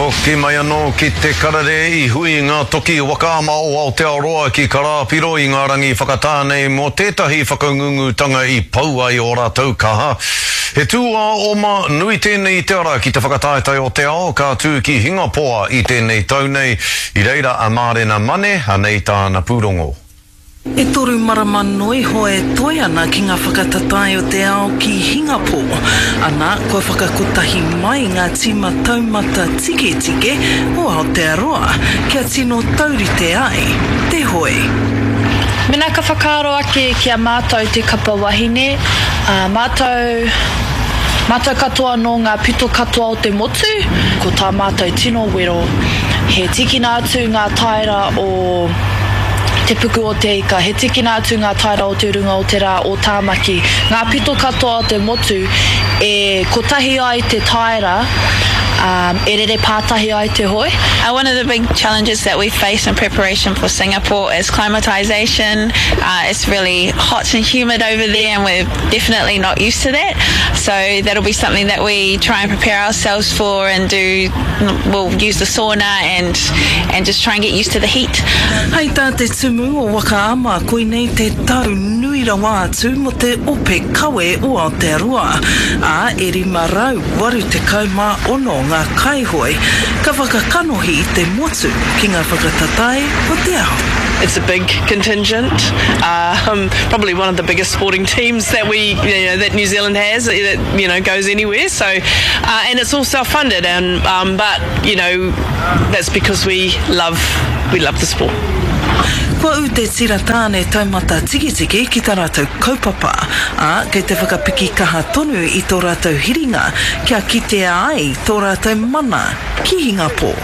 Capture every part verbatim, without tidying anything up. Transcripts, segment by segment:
Hoki mai anō ki te karere i hui ngā toki waka ama o Aotearoa ki Karāpiro i ngā rangi whakatā nei mō tētahi whakangungutanga i pau ai o rātou kaha. He tūāoma nui tēnei i te ara ki te whakataetae o te ao ka tū ki Hingapoa i tēnei tau nei. I reira a Mārena Mane, anei tāna pūrongo. E toru marama noa iho e toe ana ki ngā whakatatae o te ao ki Hingapō. Ana, kua whakakotahi mai ngā tīma taumata tiketike o Aotearoa, kia tino taurite ai te hoe. Mena ka whakaaro ake ki a mātou te kapa wahine, ā, mātou, mātou katoa nō ngā pito katoa o te motu, ko tā mātou tino wero, he tīkina atu ngā taera o Te Puku o Te Ika, he tīkina atu ngā taera o te runga o te rā o Tāmaki, ngā pito katoa o te motu e kotahi ai te taera, ā, e rere pātahi ai te hoe. Uh, one of the big challenges that we face in preparation for Singapore is climatization. Uh, it's really hot and humid over there and we're definitely not used to that. So that'll be something that we try and prepare ourselves for and do, we'll use the sauna and, and just try and get used to the heat. Hei tā te tumu o Waka Ama, koinei te tau nui rawa atu mō te ope kawe o Aotearoa, ā, e rima rau waru tekau mā ono ngā kaihoe ka whakakanohi i te motu ki ngā whakatatae o te ao. It's a big contingent, um, probably one of the biggest sporting teams that we, you know, that New Zealand has, that, you know, goes anywhere. So, uh, and it's all self-funded, and, um, but, you know, that's because we love, we love the sport. Kua ū te tira tāne taumata tiketike ki tā rātou kaupapa, ā, kei te whakapiki kaha tonu i tō rātou hiringa kia kitea ai tō rātou mana ki Hingapō.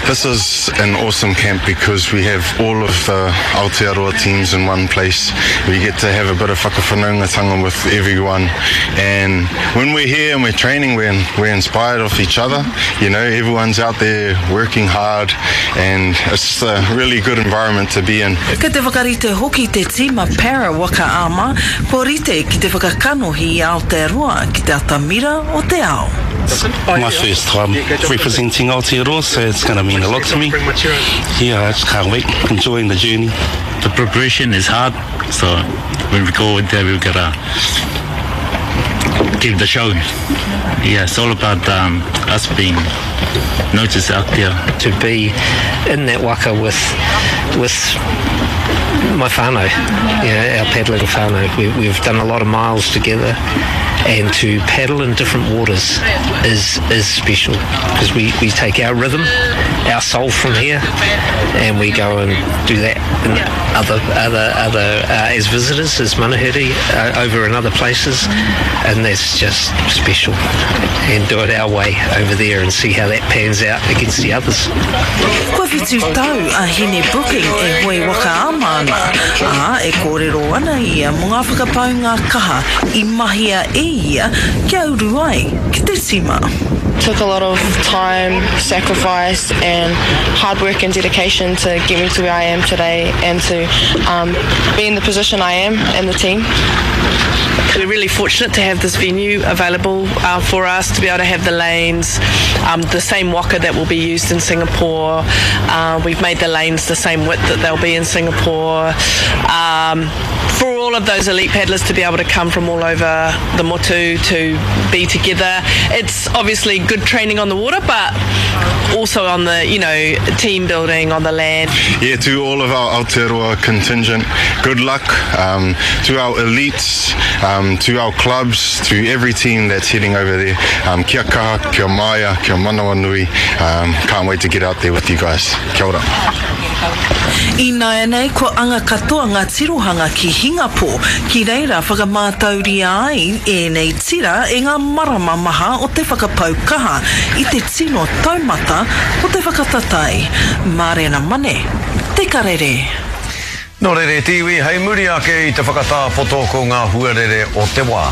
This is an awesome camp because we have all of the Aotearoa teams in one place. We get to have a bit of whakawhanaungatanga with everyone, and when we're here and we're training, we're, we're inspired off each other. You know, everyone's out there working hard, and it's just a really good environment to be in. Kei te whakarite hoki te tīma Para Waka Ama, kua rite ki te whakakanohi i Aotearoa ki te atamira o te ao. It's my first time representing Aotearoa, so it's gonna mean a lot to me. Yeah, I just can't wait, enjoying the journey. The preparation is hard, so when we go there, we've gotta give the show. Yeah, it's all about, um, us being noticed out there. To be in that waka with, with my whānau, you know, our paddling whānau. We, we've done a lot of miles together, and to paddle in different waters is, is special, 'cause we, we take our rhythm, our soul from here, and we go and do that in other, other, other, uh, as visitors, as manuhiri, uh, over in other places, and that's just special. And do it our way over there and see how that pans out against the others. Kua whitu tau a Hine Brooking e hoe waka ama ana, ā, e kōrero ana ia mō ngā whakapaunga kaha i mahia e ia kia uru ai ki te tīma. Took a lot of time, sacrifice and hard work and dedication to get me to where I am today and to, um, be in the position I am in the team. We're really fortunate to have this venue available, uh, for us to be able to have the lanes, um, the same waka that will be used in Singapore. Uh, we've made the lanes the same width that they'll be in Singapore. Um, for all of those elite paddlers to be able to come from all over the motu to be together. It's obviously good training on the water, but also on the, you know, team building on the land. Yeah, to all of our Aotearoa contingent, good luck. Um, to our elites, um, to our clubs, to every team that's heading over there. Um, kia kaha, kia maia, kia manawa nui. Um, can't wait to get out there with you guys. Kia ora. Ināianei, kua anga katoa ngā tirohanga ki Hingapō, ki reira whakamātauria ai ēnei tira e ngā marama maha o te whakapau kaha i te tino taumata o te whakatatae. Mārena Mane, Te Karere. Nō reira te iwi, hei muri ake i te whakatāpoto ko ngā huarere o te wā.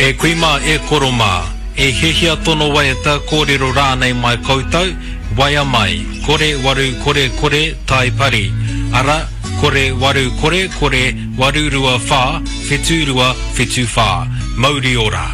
E kui mā, e koro mā, e hiahia tono waiata kōrero rānei mai koutou, waia mai, kore waru kore kore tai pari. Ara, kore waru kore kore waru rua whā, whetu rua, whetu whā. Mauri ora.